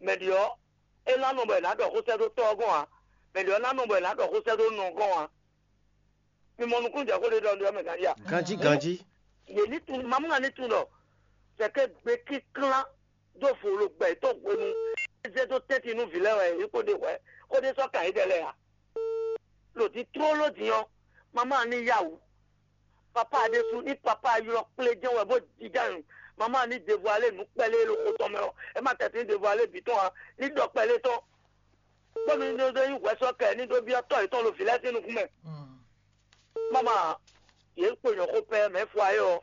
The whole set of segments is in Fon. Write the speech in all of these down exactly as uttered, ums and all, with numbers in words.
Mɛ ɖě ɔ́, é ná nɔ bɔ è nǎ ɖɔ xó sɛ́ dó tɔ́ ɔ́ gɔ́n ǎ. Mɛ ɖě ɔ́ ná nɔ bɔ è nǎ ɖɔ xó sɛ́ dó nɔ ɔ́ gɔ́n ǎ. Mi mɔ nukúnjɛ xó ɖé ɖɔ ɖɔ mɛ ganjí a? Ganjí, ganjí. Yě ní tunwun, mamú ná ní tunwun ɖɔ sɛkɛ́ gbe kínklán dó vo lo gbɛ yětɔn hwenu é zé dó tɛ́ntin nú vǐ lɛ́ɛ wɛ yě kó ɖe hwɛ xó ɖé sɔ́ kan yědɛɛ lɛ́ɛ ǎ. Lǒ dín tlóló din ɔ́, mamá ní yá wǔ. Papá ɖésú ní papá ylɔ́ kplé jɛ́n wɛ bó jínjɔ́n ayǐ. Mamá ní devualé nǔ kpɛ́ lé ɖo xo tɔn mɛ ɔ́, é má tɛ́ sín devualé bǐ tɔn ǎ, ní ɖɔ kpɛ́ lé tɔn. Bónú ní ɖó nyí hwɛsɔ́kɛ ní ɖó byɔ́ tɔ́ yětɔn ɖo vǐ lɛ́ɛ sín nukún mɛ. Máma, yě kpo nyɔ̌ xó pɛ́ mɛ fɔ ayé ɔ́,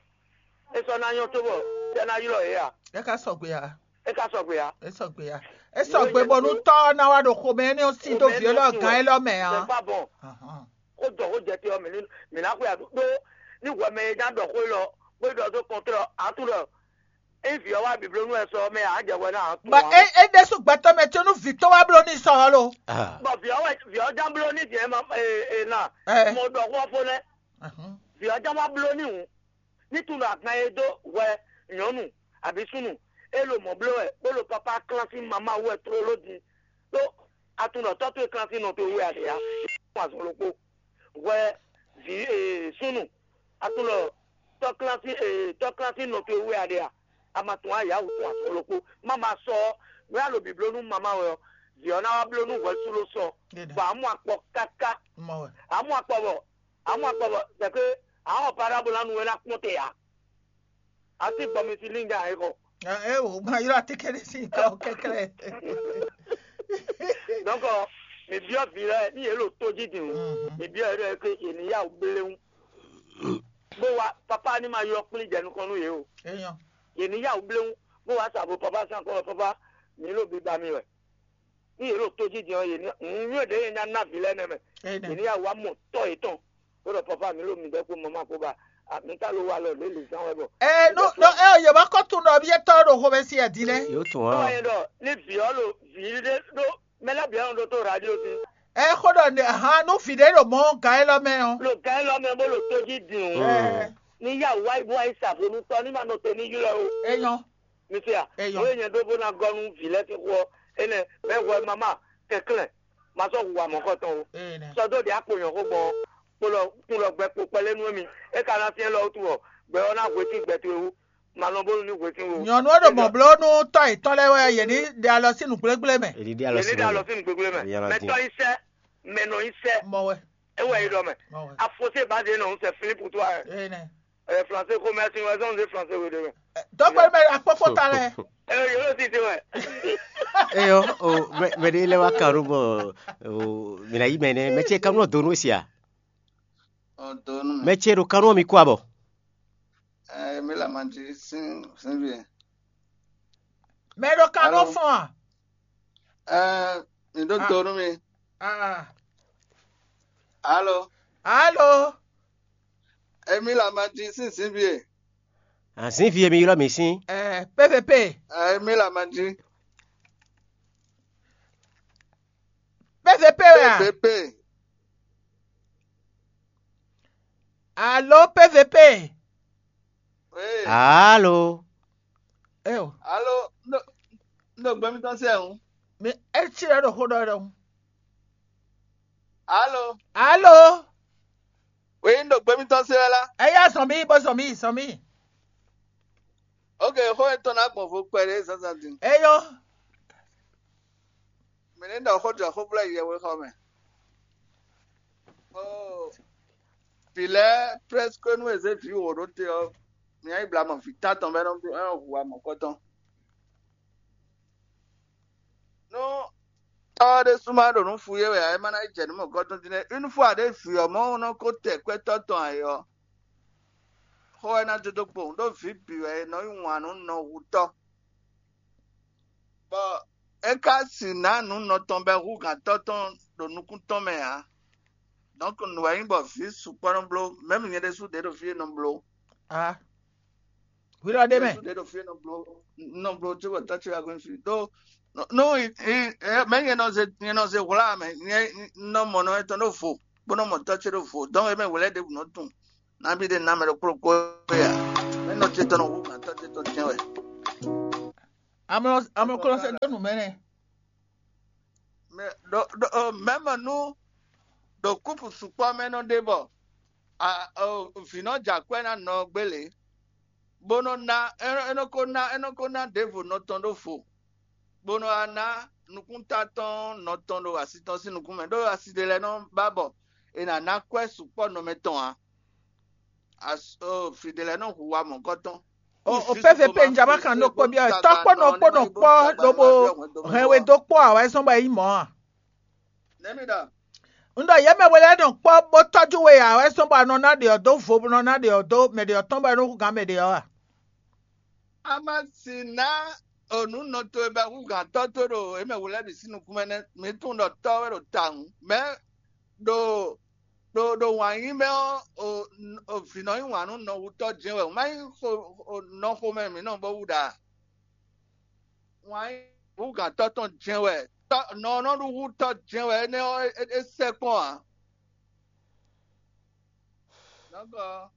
é sɔ́ ná nyɔ́ cóbɔ sɛ́ ná ylɔ́ yě a? É ka sɔgbe ǎ. É ka sɔgbe ǎ. É sɔgbe ǎ. É sɔgbe bɔ nú tɔ́ ɔ́ ná wá ɖo xomɛ énɛ́ ɔ́ sí dó vǐ élɔ́ gán élɔ́ mɛ ǎ. Sɛ fá bɔn. Ahán. Xó jɔ xó jɛ te ɔ́, mǐ ní mǐ ná xwe aɖú ɖó ní hwɛ mɛ e ná ɖɔ xó élɔ́ bó ɖɔ dó kɔntrɔ ǎ tún ɖɔ ényí vǐ ɔ́ wá biblónú wɛ sɔ ɔ́ mɛ ǎ jɛ hwɛ ná ǎ tún Bɔ ǎ. É é ɖésú gbɛtɔ́ mɛ có nú vǐ tɔn wá bló n'i sɔ ɔ́ lo. Ah. Bɔ vǐ ɔ́ wɛ vǐ ɔ́ ján bló ní vǐ ɛ ma e e na Ɛ. Mo ɖɔ xó ɔ́ fó nɛ́. Ahán. Vǐ ɔ́ ján wá bló ní hǔn. Ní tun ɖo agban e dó hwɛ nyɔ̌nu abǐ súnnu e ɖo mɔ̌ bló wɛ bó ɖo papá klán sín mamá wú wɛ tlóló din ɖó atun ɖɔ tɔ́ towe klán sín nɔ towe wú wɛ a ɖe ǎ. Fún azɔn ɖokpó hwɛ vǐ ee súnnu atun ɖɔ tɔ́ klán sín ee tɔ́ klán sín nɔ towe wú wɛ a ɖe ǎ. A ma tunwun ayǎ wǔ tun azɔn ɖokpó má ma sɔ ɔ́ nú a ɖo bǐbló nú mamá wɛ ɔ́, vǐ ɔ́ ná wá bló nú hwɛ sú ɖó sɔ Ɖe ɖa. Bɔ a mɔ akpɔ káká Mɔ wɛ. A mɔ akpɔ bɔ a mɔ akpɔ bɔ c'est que a xɔ parabole anu wɛ ná kpɔn te ǎ. A ti gbɔ mi si linga e xɔ. Ɛ o ma ylɔ atikɛnɛ si ka o kɛkɛlɛ. Donc mi biɔ vi lɛ ni yɛ lo to ji din o. Mi biɔ yɛ ke yɛ ni ya o blewu. Bó wa papa ni ma yɔ kplin jɛ nukɔn nu yɛ o. Eyɔn. Yɛ ni ya o blewu. Bó wa sa bo papa san kɔ papa mi lo bi ba mi wɛ. Ní yě ɖo tójijɛ ɔ́, yě ní nǔnywɛ́ ɖě e nya ná vǐ lɛ́ɛ nɛ́ mɛ. Yě ní ya wá mɔ tɔ́ yětɔn, bó ɖɔ papa mi ɖo midɛɛ kpó mama kpó ba mi ka lo wa lɔ lě lǐzán wɛ bɔ. Ɛ nú nú ɛ yě wá kɔ tunwun ɖɔ byɔ́tɔ́ ɖo xomɛsin ɛ din lɛ́ɛ. Yóò tún Ɔ́ wá. Wá nyɛ ɖɔ ní vǐ ɔ́ ɖo vǐ ɖé ɖó mɛ lɛ́ɛ bǐ ɔ́ ɖo tó radio sí. Ɛ xó ɖɔ nɛ ahan nú vǐ ɖé ɖo mɔ̌ gǎn élɔ́ mɛ ɔ́. Lo gǎn élɔ́ mɛ bó ɖo tójí din o. Ɛ Ní yá wá wá yi sa vo nú tɔ́ ní ma nɔ te ní ylɔ́ o. É nyɔ́. Mi se a? Eyɔ. Nǔ e nyɛ ɖó bó ná gɔ́ nú vǐ lɛ́ɛ sín xó ɔ́, énɛ́ mɛ hwɛ mama kɛnklɛ́n, ma sɔ́ hu wa mɔ̌kɔtɔn ó. Ee nɛ. Sɔ́ dó ɖě akpo nyɔ̌xó gbɔn ɔ́, kpolɔ kplɔ gbɛ kpo kpɛlɛ nú émí. É ka ná syɛ́n lɔ wútu ɔ́, gbɛ ɔ́ ná hwe sín gbɛ towe wú. Ma nɔ bónú ní hwe sín wo. Nyɔ̌nu e ɖo mɔ̌ bló nú tɔ́ yětɔn lɛ́ɛ wɛ yě ní ɖe alɔ sín nǔgblégblé mɛ. Èdìdí alɔ Yě ní sí ɖe alɔ gbogbo. Sín nǔgbégbé mɛ. Èdìdí alɔ Mɛ dín. Tɔ́ nyí sɛ́, mɛ nɔ nyí sɛ́. Mɔ wɛ. É wɛ é ɖɔ mɛ. Mɔ wɛ. Afosé bá dé nɔ ń sɛ Philippe toi. Ee nɛ. Ɛ français ko mɛ si wɛ zɔn de français wo de mɛ. Dɔgbe mɛ akpɔkpɔ ta lɛ. Ɛ yóò ti ti wɛ. Eyɔ o mɛ mɛ ɖe lɛ wa kan ɖo bɔ o mina yi mɛ nɛ mɛ ce kanu donu sia. Ɔ donu mɛ. Mɛ ce ɖo kanu mi kó abɔ. Ɛ mi la ma di sin sin vi. Mɛ ɖo kanu Alo. Fɔn a. Ɛ mi ɖo Ah. Donu mi. Ah. Alo. Alo. Emi la ma di sin sin vie. Azin vie mi ylɔ́ mi sín. Ɛ P V P. Emi la ma di. P V P wɛ a? P V P. Alo P V P. Oui. Alo. Eo. Alo. No. No gbɛmitɔ sɛ o. Mi etsi ɖe ɖo xó ɖɔ ɖe o. Alo. Alo. Wěyi ɖo gbɛmitɔ se wɛ la. Eya zɔn mi bó zɔn mi zɔn mi. Ok, xó etɔn ná gbɔn vo kpɛɖé zazan din. Eyɔ. Mɛ ne ɖɔ xó jɔ xó blɛ yɛ wé xɔ mɛ. Oh. Vǐ lɛ́ɛ presque nú e zé vǐ wǒ ɖó te ɔ́, mi nyi bla mɔ vǐ tán tɔn bɔ é nɔ hu amɔ̌kɔ́tɔn. Nú tɔ́ ɔ́ ɖésú ma ɖo nǔ fu yé wɛ ǎ, é má ná yi jɛ nǔ mɔ̌kɔ́tɔn dín nɛ́. Une fois ɖě vǐ ɔ́ mɔ nɔ ko tɛ kwɛ́tɔ́ tɔn ayǐ ɔ́, xó wɛ ná dó dó kpowun, ɖó vǐ bǐ wɛ è nɔ yí wǎn nú nɔhutɔ́. Bɔ é ka sixú ná nǔ nɔ tɔn bɔ é hú gǎntɔ́ tɔn ɖo nukún tɔn mɛ ǎ. Donc nǔ wɛ nyí bɔ vǐ sukpɔ́ nɔ bló, mɛ̌m nyɛ ɖésú ɖě ɖo fí e nɔ bló. Ah. Hwi lɔ ɖe mɛ. Ɖě ɖo fí e nɔ bló nɔ bló tso bɔ tɔ́ ce wá gɔ́n fí. Ɖó nú mɛ nyɛ nɔ ze nyɛ nɔ ze hwlá mɛ nyɛ nɔ mɔ nɔ etɔn ɖó vo bó nɔ mɔ tɔ́ ce ɖó vo. Donc é mɛ hwlɛ́ ɖěbǔ nɔ tunwun nabí ɖé ná mɛ ɖokpó ɖokpó ya. Mɛ nɔ ce tɔn nɔ hú gǎntɔ́ ce tɔn tɛn wɛ. Amlɔ amlɔ kɔ lɔ sɛ dó nǔ mɛ nɛ. Mɛ ɖo ɖo mɛmɛ nú ɖo kúpu sukpɔ́ mɛ nɔ ɖe bɔ vǐ nɔ jɛ akwɛ́ ná nɔ gbélé, bó nɔ ná é nɔ ko ná é nɔ ko ná ɖěvo nɔ tɔn ɖó vo, bó nɔ wá ná nukúnta tɔn nɔ tɔn ɖo asi tɔn sín nukún mɛ, ɖó asi ɖé lɛ́ɛ nɔ ba bɔ è nǎ ná kwɛ́ sukpɔ́ nɔ mɛ tɔn ǎ. Fǐ ɖé lɛ́ɛ nɔ hu wa mɔ̌kɔtɔn. O P V P njama kan ɖokpó byɔ́ wɛ, tɔ́ kpó nɔ kpó nɔ kpɔ́ lobo hɛn we dó kpɔ́ ǎ wɛ zɔ́n bɔ é nyí mɔ̌ a? Nɛ̌ mi ɖɔ? Un ɖɔ yě mɛ we lɛ́ɛ nɔ kpɔ́ bó tɔ́jú we ǎ wɛ zɔ́n bɔ a nɔ ná ɖě ɔ́ dó vo, bó nɔ ná ɖě ɔ́ dó mɛ ɖě ɔ́ tɔn bɔ é nɔ hú gǎn mɛ ɖě ɔ́ a? A ma si ná onǔ nɔ towe bɔ hú gǎn tɔ́ towe ɖo yě mɛ we lɛ́ɛ bǐ sín nukún mɛ nɛ́. Mi tunwun ɖɔ tɔ́ wɛ ɖo tawun, mɛ̌ ɖo ɖo ɖo wǎn yí mɛ ɔ́, vǐ nɔ yí wǎn nú nɔhutɔ́ jɛ́n wɛ, má nyí nɔ xomɛ mǐ nɔ bó wú ɖa. Wǎn yí húgǎntɔ́ tɔn jɛ́n wɛ. Nɔ ɔ́ nɔ ɖu hú tɔ́ jɛ́n wɛ, énɛ́ ɔ́ é sɛ́ kpɔ́n ǎ. Nɔ́gɔ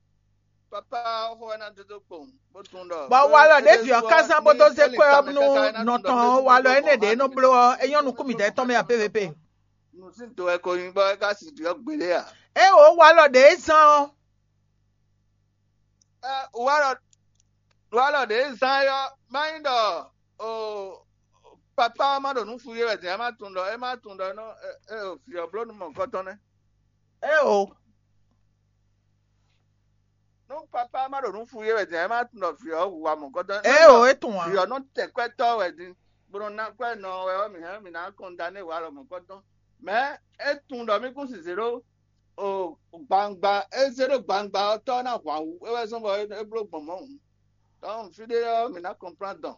papá xó wɛ ná dó dó kpowun bó tunwun ɖɔ bɔ walɔ ɖě vǐ ɔ́ ká zán bó dó zé kwɛ́ ɔ́ nú nɔ tɔn ɔ́, walɔ énɛ́ ɖě nɔ bló ɔ́, é nyɔ́ nukún mǐdɛɛ tɔn mɛ ǎ pépépé. Nǔsíntɔ́ wɛ ko nyí bɔ é ka si ɖi ɔ́ gbeɖé a? É o walɔ ɖě zán ɔ́. Walɔ walɔ ɖě zán é ɔ́, má nyí ɖɔ o papá ɔ́ má ɖo nǔ fu yé wɛ din, é má tunwun ɖɔ é má tunwun ɖɔ é nɔ é o vǐ ɔ́ bló nú mɔ̌hunkɔtɔn nɛ́. É o. Nú papá má ɖo nǔ fu yé wɛ din, é má tunwun ɖɔ vǐ ɔ́ hu wa mɔ̌hunkɔtɔn. É o, é tunwun ǎ. Vǐ ɔ́ nɔ tɛ kwɛ́tɔ́ wɛ din, bó nɔ ná kwɛ́ nɔ wɛ ɔ́, mǐ hɛn mǐ ná kɔn da nú é walɔ mɔ̌hunkɔtɔn. Mɛ̌ é tunwun ɖɔ mí kún si zě ɖó o gbangba, é zé ɖó gbangba ɔ́, tɔ́ ɔ́ ná hwan wú, é wɛ zɔ́n bɔ é bló gbɔn mɔ̌ hǔn. Donc fí ɖé ɔ́, mǐ ná kɔnplán dɔn.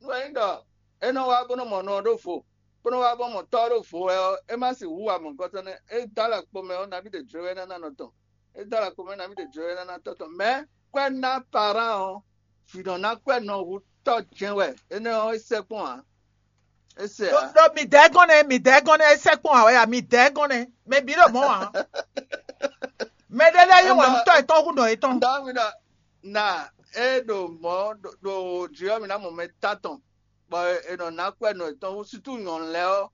Nú é nyí ɖɔ é nɔ wá bó nɔ mɔ nɔ ɔ́ ɖó vo, bó nɔ wá bó mɔ tɔ́ ɔ́ ɖó vo wɛ ɔ́, é má sixú wa mɔ̌hunkɔtɔn nɛ́. É dó alɔ kpo mɛ ɔ́, nabí ɖě jló wɛ ná ná nɔ tɔn. É dó alɔ kpo mɛ nabí ɖě jló wɛ ná ná tɔ́ tɔn. Mɛ̌ kwɛ́ ná parán ɔ́, vǐ nɔ ná kwɛ́ nɔ hu tɔ́ jɛ́n wɛ. Énɛ́ ɔ́, é sɛ́ kpɔ́n ǎ. É sɛ́ ǎ. Ɖo midɛɛ gɔ́n nɛ́, midɛɛ gɔ́n nɛ́, é sɛ́ kpɔ́n ǎ wɛ ya, midɛɛ gɔ́n nɛ́. Mɛ bǐ ɖo mɔ̌ ǎ. Mɛ ɖé lɛ́ɛ yí wǎn nú tɔ́ yětɔn hú nɔ yětɔn. Dawida na é ɖo mɔ̌ ɖo jí ɔ́, mi ná mɔ mɛ tán tɔn, bɔ è nɔ ná kwɛ́ nɔ yětɔn hú, sútú nyɔ̌nu lɛ́ɛ ɔ́,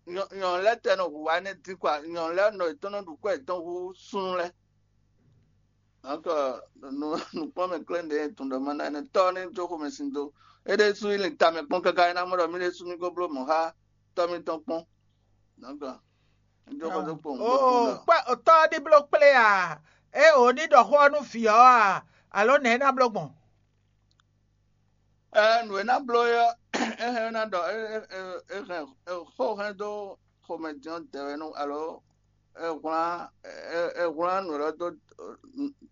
nyɔ̌nu lɛ́ɛ tɛ nɔ hu wá nɛ́ dín kɔ, nyɔ̌nu lɛ́ɛ nɔ yětɔn nɔ ɖu kwɛ́ yětɔn hú súnnu lɛ́ɛ. Donc nukpɔ́n mɛ klɛ́n ɖě tun ɖɔ ma ná énɛ́ tɔ́ ní jó xomɛ sin dó. É ɖésú yi lin tamɛ kpɔ́n káká é ná mɔ ɖɔ mí ɖésú mí ko bló mɔ̌ xá tɔ́ mítɔn kpɔ́n. Donc é jó xó dó kpowun bó tunwun ɖɔ kpɛ́ tɔ́ ɔ́ ní bló kplé a? É o ní ɖɔ xó ɔ́ nú vǐ ɔ́ a? Alǒ nɛ̌ é ná bló gbɔn? Ɛ nǔ e ná bló é ɔ́, é hɛn ná ɖɔ é hɛn xó hɛn dó xomɛ din ɔ́ dɛwɛ nú alo é hwlán é hwlán nǔ lɔ dó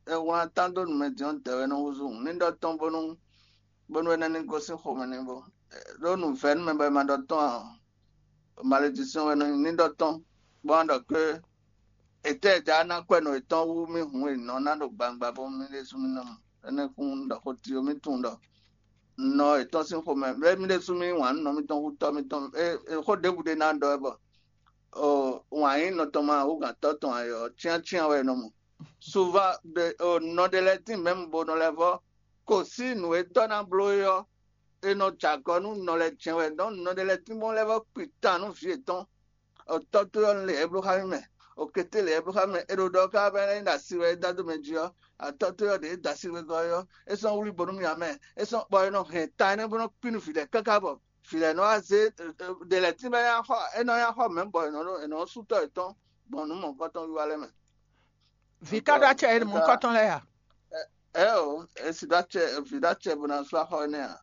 é hwlán tán dó nǔmɛ din ɔ́ dɛwɛ nú húzú. Ní ɖɔ tɔn bónú bónú é ná ní gosín xomɛ n'i bó ɖó nǔvɛ́númɛ bɔ è ma ɖɔ tɔn ǎ. Malédiction wɛ nɔ nyí ní ɖɔ tɔn, bó wá ɖɔ ké ètɛ́ é já ná kwɛ́ nɔ yětɔn wú mì hǔn e nɔ ná ɖo gbangba bó mì ɖésú mì nɔ mɔ. Énɛ́ kún ɖɔ xó tló mì tunwun ɖɔ nɔ yětɔn sín xomɛ bɛ́ mì ɖésú mì wǎn nɔ mítɔn hú tɔ́ mítɔn. Xó ɖěbǔ ɖé ná ɖɔ wɛ bɔ wǎn nyí nɔ tɔn ma hú gǎn tɔ́ tɔn ayɔ cyáncyán wɛ è nɔ mɔ. Suva nɔ ɖé lɛ́ɛ tín mɛ̌mu bo nɔ lɛ́ vɔ́ ko sí nǔ e tɔ́ ná bló é ɔ́, è nɔ jɛ agɔ nú nɔ lɛ́ɛ jɛ́n wɛ. Nɔ nɔ ɖé lɛ́ɛ tín bó lɛ́ vɔ́ kpi tan nú vǐ yětɔn. Tɔ́ towe ɔ́ lě e bló xá mì mɛ, okété lě e bló xá mì mɛ, é ɖo ɖɔ ká bɔ é ná nyí ɖo asi wɛ é dó adó mɛ jí ɔ́, atɔ́ towe ɔ́ ɖě é da sí wegɔ́ é ɔ́, é sɔ́ wlí bónú mì ǎ mɛ. É sɔ́ bɔ é nɔ hɛn ta énɛ́ bó nɔ́ kpí nú vǐ lɛ́ɛ káká bɔ vǐ lɛ́ɛ nɔ wá zé ɖě lɛ́ɛ tín bɔ é ná xɔ é nɔ ná xɔ mɛ̌ bɔ è nɔ sú tɔ́ yětɔn gbɔn nǔ mɔ̌hunkɔtɔn wiwa lɛ́ɛ mɛ. Vǐ ka ɖó acɛ e mɔ̌hunkɔtɔn lɛ́ɛ a? Ɛ o, e si ɖó acɛ vǐ ɖó acɛ bó ná sú axɔ énɛ́ ǎ.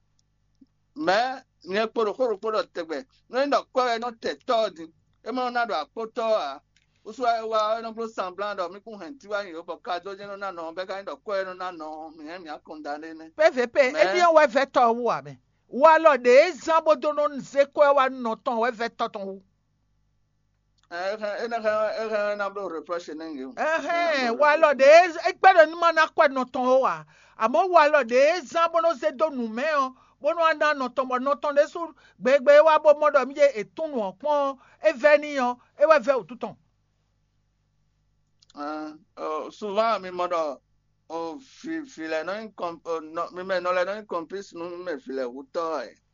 Mɛ̌ nyɛ kpo ɖo xó ɖokpó ɖɔ tɛgbɛ, nɔ nyí ɖɔ kwɛ́ wɛ nɔ tɛ tɔ́ ɔ́ din, é ma nɔ ná ɖo akpótɔ́ ɔ́ ǎ. Wúsú wá é wá ɔ́, é nɔ bló sanblán ɖɔ mí kún hɛn tiwá nyi yǒ bɔ kadó jɛ́n nɔ ná nɔ ɔ́, bɔ é ka nyí ɖɔ kwɛ́ wɛ nɔ ná nɔ ɔ́, mǐ hɛn mǐ akɔn da ɖé nɛ́. Pé vě pé, é ɖyɔ́ wɛ vɛ́ tɔ́ ɔ́ wú ǎ mɛ. Walɔ ɖě e zán bó dó nɔ zé kwɛ́ wá nɔ tɔn wɛ vɛ́ tɔ́ tɔn wú. Ɛ, é hɛn é ná hɛn é hɛn é ná bló reproche nɛ nge o. Ɛhɛn, walɔ ɖe é gbɛ́ ɖɔ ní ma ná kwɛ nɔ tɔn ó ǎ. Amɔ̌ walɔ ɖe é zán bó nɔ́ zé dó nǔ mɛ ɔ́, bó nɔ́ wá ná nɔ tɔn bɔ nɔ tɔn ɖésú gbegbe é wá bó mɔ ɖɔ mí ɖe è tún nǔ ɔ́ kpɔ́n ɔ́, é vɛ́ n'i ɔ́, é wɛ vɛ́ wǔtu tɔn. Ɛn, ɔ, souvent mi mɔ ɖɔ o vi vi lɛ nɔ nyí kɔn o nɔ mi mɛ nɔ lɛ nɔ nyí complice nú mi mɛ vi lɛ wutɔ ɛ.